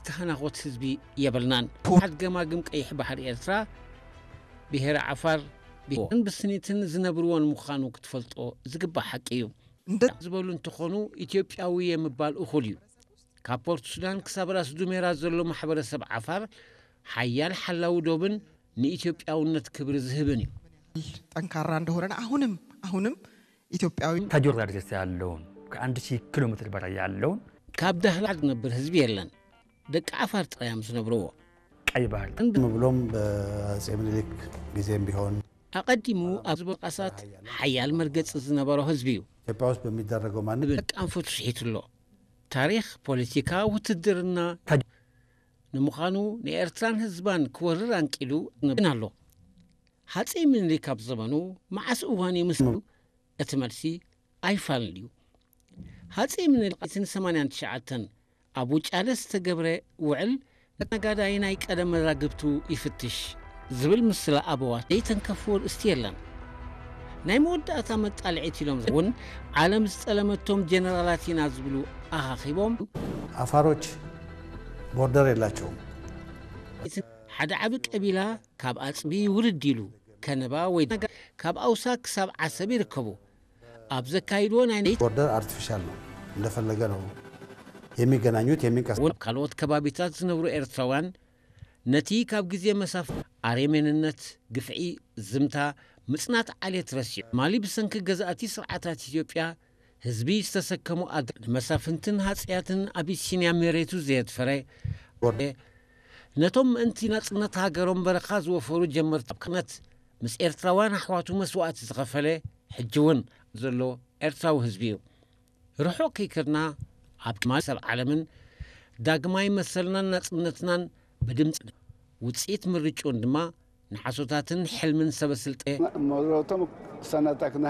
ክሃናኾት ህዝቢ የብልናን። ፖ- ሓድ ገማግም ቀይሕ ባሕሪ ኤርትራ ብሄረ ዓፋር ብሄርን ብስኒትን ዝነብርዎን ምዃኑ ክትፈልጦ ዝግባእ ሓቂ እዩ። እንደ- ዝበሉ እንተኾኑ ኢትዮጵያዊ የምባል እኹል እዩ። ካብ ፖርት ሱዳን ክሳብ ራስ ዱሜራ ዘሎ ማሕበረሰብ ዓፋር ሓያል ሓላዊ ዶብን ንኢትዮጵያውነት ክብሪ ዝህብን እዩ። ጠንካራ እንደሆነን አሁንም አሁንም ኢትዮጵያዊ ከጆርዳን ርሴ ያለውን ከአንድ ሺህ ኪሎ ሜትር በላይ ያለውን ካብ ዳህላክ ዝነብር ህዝቢ የለን። ደቂ ዓፋር ጥራይ እዮም ዝነብርዎ። ቀይ ባህር ቀደም ብሎም በአጼ ምኒልክ ጊዜም ቢሆን ኣቐዲሙ ኣብ ዝበቃሳት ሓያል መርገፂ ዝነበሮ ህዝቢ እዩ። ኢትዮጵያ ውስጥ በሚደረገው ማንኛውም ደቂ ኣንፈቱ ስሒቱ ኣሎ። ታሪኽ፣ ፖለቲካ፣ ውትድርና ንምዃኑ ንኤርትራን ህዝባን ክወርር ኣንቂሉ ነብን ኣሎ። ሃፀይ ምኒልክ ኣብ ዘመኑ መዓስ እዋን እዩ ምስ እቲ መልሲ ኣይፋልን እዩ። ሃፀይ ምኒልክ ሰማንያን ትሽዓተን ኣብ ውጫለ ዝተገብረ ውዕል ነጋዳይ ናይ ቀደም መዛግብቱ ይፍትሽ ዝብል ምስላ ኣበዋት ዘይተንከፍዎ ርእስቲ የለን። ናይ መወዳእታ መጣልዒት ኢሎም እውን ዓለም ዝጠለመቶም ጀነራላት ኢና ዝብሉ ኣኻኺቦም አፋሮች ቦርደር የላቸውም። ሓደ ዓቢ ቀቢላ ካብ ኣጽቢ ውርድ ኢሉ ከነባ ወይ ካብ ኣውሳ ክሳብ ዓሰብ ይርከቡ። ኣብ ዘካይድዎ ናይ ቦርደር አርቲፊሻል ነው፣ እንደፈለገ ነው የሚገናኙት የሚንቀሳቀሱት። ካልኦት ከባቢታት ዝነብሩ ኤርትራውያን ነቲ ካብ ግዜ መሳፍ ኣሬሜንነት፣ ግፍዒ፣ ዝምታ፣ ምጽናት ዓሌት ረሲዑ ማሊ ብሰንኪ ገዛእቲ ስርዓታት ኢትዮጵያ ህዝቢ ዝተሰከሙ ኣግ ንመሳፍንትን ሃጽያትን ኣቢሲንያ መሬቱ ዘየድፈረ ነቶም ምእንቲ ናጽነት ሃገሮም በረኻ ዝወፈሩ ጀመርቲ ኣብነት ምስ ኤርትራውያን ኣሕዋቱ መስዋእቲ ዝኸፈለ ሕጂ እውን ዘሎ ኤርትራዊ ህዝቢ እዩ። ርሑቕ ከይከድና ኣብ ማል ሰብ ዓለምን ዳግማይ መሰልናን ናጽነትናን ብድምፂ ውፅኢት ምርጭኡን ድማ ንሓሶታትን ሕልምን ሰበስልጠ መሮቶም ክሰናጣክና